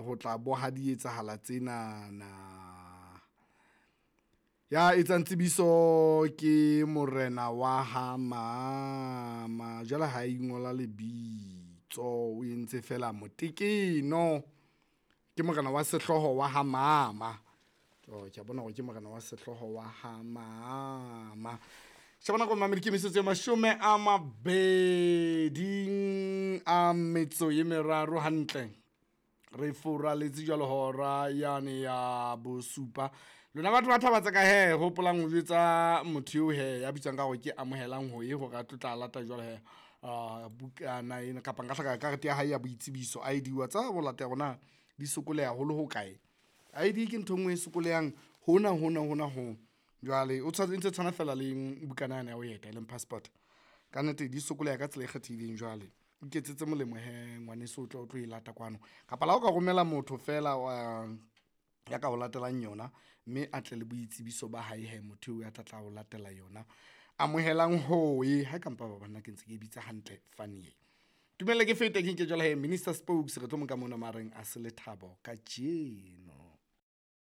Ho tla boha di etsahala tsenana. Ya etsang tsebiso ke morena wa ha mama. Jwale ha ingola lebitso, o entse fela motekeno. Ke morena wa sehlooho wa ha mama. Oh, ke a bona hore ke morena wa sehlooho wa ha mama. Sheba nako mamedi, ke metsotso e 23 hantle. Re furaletse jwalo hora yane ya bosupa. Lona batho ba thaba tsa ka he, hopolang ho jwetsa motho eo he ya bitswang ka hore ke amohelang ho ye hore a tlo tla lata jwalo he bukana ena kapa nka hlaka karete ya hae ya boitsebiso ID. Wa tseba ho lata rona di sokoleha haholo ho kae. ID ke ntho e nngwe e sokolehang hona hona hona ho. Jwale o tshwanetse tshwana fela le bukana yane ya ho eta e leng passport. Ka nnete di sokoleha ka tsela e kgethehileng. Jwale iketsetse molemo he ngwaneso, o tle o tlo e lata kwano, kapa la o ka romela motho fela wa ya ka o latelang yona, mme a tle le boitsebiso ba hae he motho eo ya tla tla o latela yona. Amohelang hoe ha ka mpa ba banna ke ntse ke e bitsa hantle funny. Tumelle ke fete ke nke jwale he Minister Spokes, re tlo mo nka mona mareng a se lethabo kajeno.